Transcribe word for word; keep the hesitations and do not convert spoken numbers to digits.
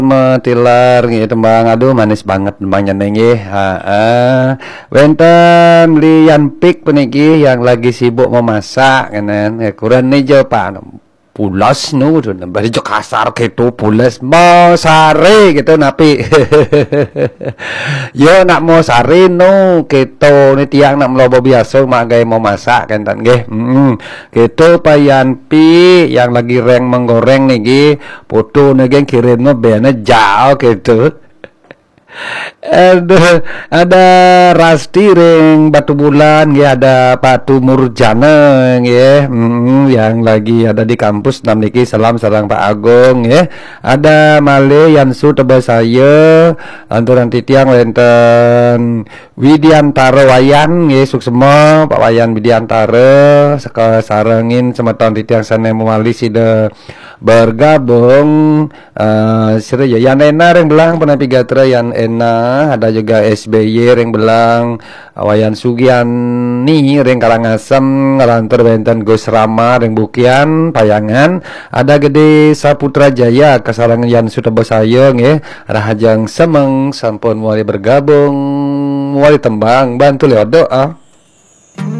Metilar nggih tembang, aduh manis banget tembangnya nggih. Heeh. Wenten Lian Pik puniki yang lagi sibuk memasak kenen. Ya, kurang nih jo Pak. Pulas nu tu bari jo kasar gitu, pulas mau sare gitu napi. Yo nak mau sare nu gitu ni tiang nak melobo biasa mak gawe mau masak kenten nggih. Hmm. Gitu Pak Yanpi yang lagi reng menggoreng niki, foto niki kirim no bene jauh gitu. Aduh, ada Rasti ring Batu Bulan nggih, ada Patu Murjana nggih, mm, yang lagi ada di kampus nam niki, salam sareng Pak Agung nggih. Ada malih Yansu Tebasaya, anturan titiang wenten Widiantara Wayan nggih, suksema Pak Wayan Widiantara, seka sarengin semeton titiang sane mewali sida bergabung. Eh, sira ya, Yan Ena ring Belang, Penapi Gatra Yan Ena, ada juga S B Y ring Belang, Wayan Sugiani ring Karangasem, nglantur wenten Gus Rama ring Bukian, Payangan, ada Gede Saputra Jaya, kasarangan Yan Sutebasaya nggih, Rahajeng Semeng sampun mewali bergabung, mewali tembang, bantu le odok ah.